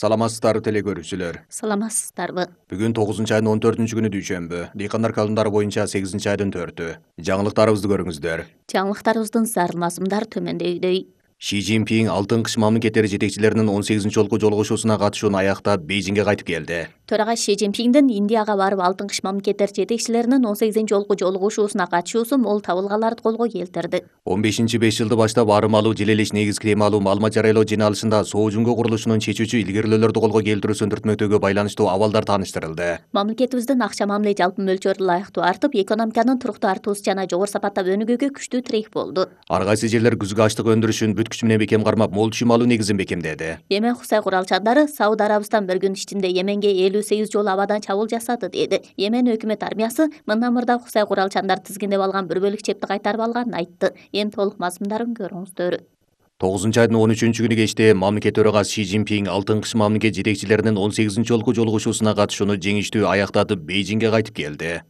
Саламатсыздарбы теле көрүүчүлөр. Саламатсыздарбы. Бүгүн 9-айдын 14-күнү дүйшөмбү. Дыйкандар календары боюнча 8-айдын 4-ү. Жаңылыктарыбызды көрүңүздөр. Жаңылыктарыбыздын зарыл мазмундары төмөндөгүдөй. Ши Цзиньпин Алтын кыш мамлекеттери жетекчилеринин 18-жолку жолугушуусуна катышууну аяктап Бейжиңге кайтып келди. Төрага Ши Цзиньпиндин Индияга барып Алтын кыш мамлекеттер жетекчилеринин 18-жолку жолугушуусуна катышуусу мол табылгаларды колго келтирди. 15-5 жылды баштап арым алуу, желелеш негизги эми алуу маалымат жарыялоо жыйналышында Соо Жуңго курулушунун чечүүчү илгерилөөлөрдү колго келтирүүсүн түртмөктөөгө байланыштуу абалдар тааныштырылды. Мамлекетибиздин акча мамиле жалпы мөлчөрү ылайыктуу артып, экономиканын туруктуу артуусу жана жогору сапаттап өнүгүүгө күчтүү тирек болду. Ар кайсы жерлер күзгү ачлык өндүрүшүн бүт күчү менен бекем кармап, мол түшүм алуу негизин бекемдеди. Йемен Хусай куралчандары Сауд Арабистан бир күн ичинде Йеменге 58 жолу абадан чабуул жасады деди. Йемен өкмөт армиясы мындан мурда Хусай куралчандар тизгиндеп алган бир бөлүк чепти кайтарып алганын айтты. Эми толук мазмундарын көрүңүздөр. 9-айдын 13-күнү кечте мамлекет төрагасы Ши Цзиньпин Алтын кыш мамлекет жетекчилеринин 18-жолку жолугушуусуна катышууну жеңиштүү аяктатып Бейжиңге кайтып келди.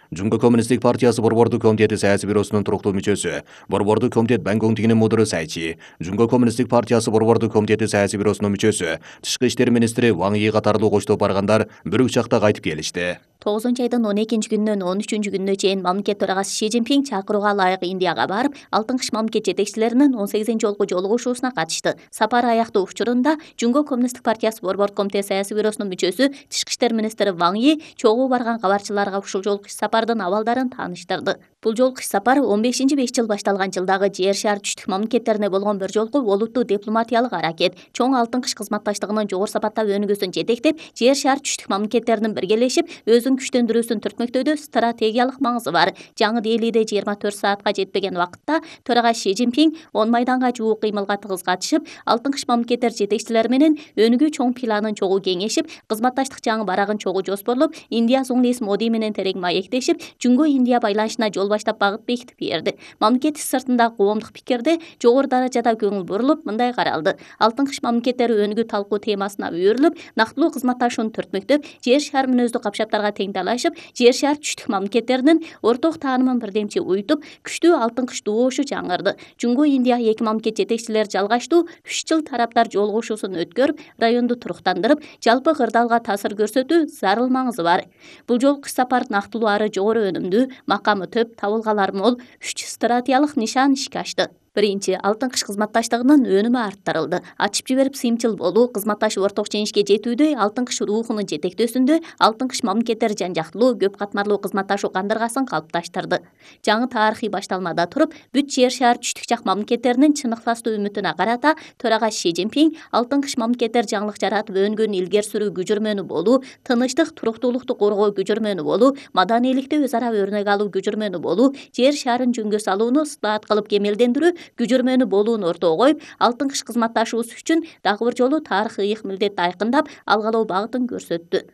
Жумго коммунисттик партиясы борбордук комитети саясий бюросунун туруктуу мүчөсү, борбордук комитет Банконгтигинин мудуру Сайчи, Жумго коммунисттик партиясы борбордук комитети саясий бюросунун мүчөсү, тышкы иштер министри Ван Йи катарлуу коштоп баргандар бир учакта кайтып келишти. 9-айдын 12-күнүнөн 13-күнүнө чейин мамлекет төрагасы Ши Цзиньпин чакырууга ылайык Индияга барып, Алтын кыш мамлекет жетекчилеринин 18-жолку жолугушуусуна катышты. Сапар аяктоо учурунда Жумго коммунисттик партиясы борбордук комитет саясий бюросунун мүчөсү, тышкы иштер министри Ван Йи чогуу барган кабарчыларга ушул жолку иш сапардын абалдарын тааныштырды. Бул жолку иш сапар 15-5 жыл башталган жылдагы жер шаар түштүк мамлекеттерине болгон бир жолку олуттуу дипломатиялык аракет, чоң Алтын кыш кызматташтыгынын жогору сапаттап өнүгүүсүн жетектеп, жер шаар түштүк мамлекеттеринин биргелешип өзүн күчтөндүрүүсүн түртмөктөөдө стратегиялык маңызы бар. Жаңы Делиде 24 саатка жетпеген вакытта төрага Ши Цзиньпин 10 майданга жуук кыймылга тыгыз катышып, Алтын кыш мамлекеттер жетекчилери менен өнүгүү чоң планын чогуу кеңешип, кызматташтык жаңы барагын чогуу жоспорлоп, Индия Зуңлис Моди менен терең маектешип, Жумго Индия байланышына жол баштап багыт бекитип берди. Мамлекет сыртында коомдук пикирде жогору даражада көңүл бурулуп, мындай каралды: Алтын кыш мамлекеттери өнүгүү талкуу темасына үйрүлүп, нактылуу кызматташууну түртмөктөп, жер шаар мүнөздүү капшаптарга тең талашып, жер шаар түштүк мамлекеттеринин орток таанымын бирдемчи уютуп, күчтүү Алтын кыш добушу жаңырды. Жумго Индия эки мамлекет жетекчилери жалгаштуу 3 жыл тараптар жолугушуусун өткөрүп, районду туруктандырып, жалпы кырдаалга таасир көрсөтүү зарыл маңызы бар. Бул жолку иш сапар нактылуу ары жогору өнүмдүү, макамы төп, табылгалары мол 3 стратегиялык нишан ишке ашты. Биринчи, Алтын кыш кызматташтыгынын өнүмү арттырылды. Ачып жиберип сыйымчыл болуу, кызматташып орток жеңишке жетүүдө, Алтын кыш рухунун жетектөөсүндө Алтын кыш мамлекеттери жан жактылуу, көп катмарлуу кызматташуу кандыргасын калыпташтырды. Жаңы тарыхый башталмада туруп, бүт жер шаар түштүк жак мамлекеттеринин чын ыктастуу үмүтүнө карата төрага Ши Цзиньпин Алтын кыш мамлекеттер жаңылык жаратып өнгөн илгери сүрүү күжүрмөнү болуу, тынычтык, туруктуулукту коргоо күжүрмөнү болуу, маданийликти өз ара өрнөк алуу күжүрмөнү болуу, жер шаарын жөнгө салууну ысылаат кылып кемелдендирүү күжүрмөнү болууну ортого коюп, Алтын кыш кызматташуусу үчүн дагы бир жолу тарыхый ыйык милдетти айкындап, алгалоо багытын көрсөттү.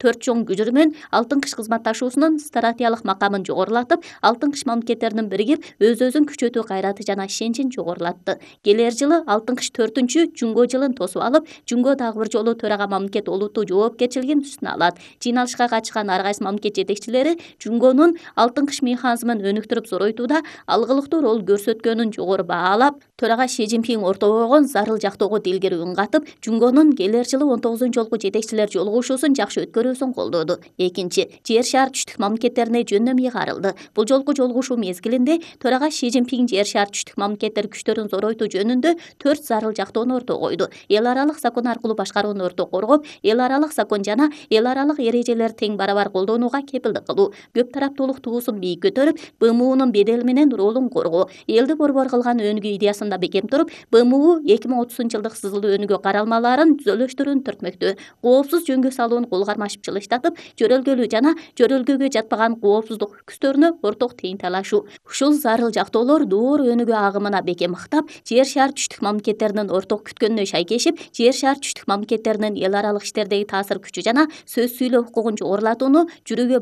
4 чоң күжүрмөн Алтын кыш кызматташуусунун стратегиялык макамын жогорулатып, Алтын кыш мамлекеттеринин биригип, өз-өзүн күчөтүү кайраты жана ишенчин жогорулатты. Келер жылы Алтын кыш 4-чү Жумго жылын тосуп алып, Жумго дагы бир жолу төрага мамлекет олуттуу жоопкерчилигин үстүнө алат. Жыйналышка катышкан ар кайсы мамлекет жетекчилери Жумгонун Алтын кыш механизмин өнүктүрүп зоройтууда алгылыктуу роль көрсөткөнүн жогору баалап, төрага Ши Цзиньпин ортого койгон зарыл жактоого дилгири үн катып, Жумгонун келер жылы 19-жолку жетекчилер жолугушуусун жакшы өткөрүүсүн колдоду. Экинчи, жер шаар түштүк мамлекеттерине жөндөм ыйгарылды. Бул жолку жолугушуу мезгилинде төрага Ши Цзиньпин жер шаар түштүк мамлекеттер күчтөрүн зоройтуу жөнүндө 4 зарыл жактоону ортого койду. Эл аралык закон аркылуу башкарууну ортого коргоп, эл аралык закон жана эл аралык эрежелерди тең барабар колдонууга кепилдик кылуу, көп тараптуулук туусун бийик көтөрүп, БМУнун бедели менен ролун коргоо, элди борбор кылган өнүгүү идеясында бекем туруп, БМУ 2030-жылдык сызылуу өнүгүү каралмаларын түзөлүштүрүүнү түртмөктө, коопсуз жөнгө салууну кол кармашып жылыштатып, жөрөлгөлүү жана жөрөлгөгө жатпаган коопсуздук күчтөрүнө орток тең талашуу. Ушул зарыл жактоолор доор өнүгүү агымына бекем ыктап, жер шаар түштүк мамлекеттеринин орток күткөнүнө шайкешип, жер шаар түштүк мамлекеттеринин эл аралык иштердеги таасир күчү жана сөз сүйлөө укугун жогорулатууну жүрүүгө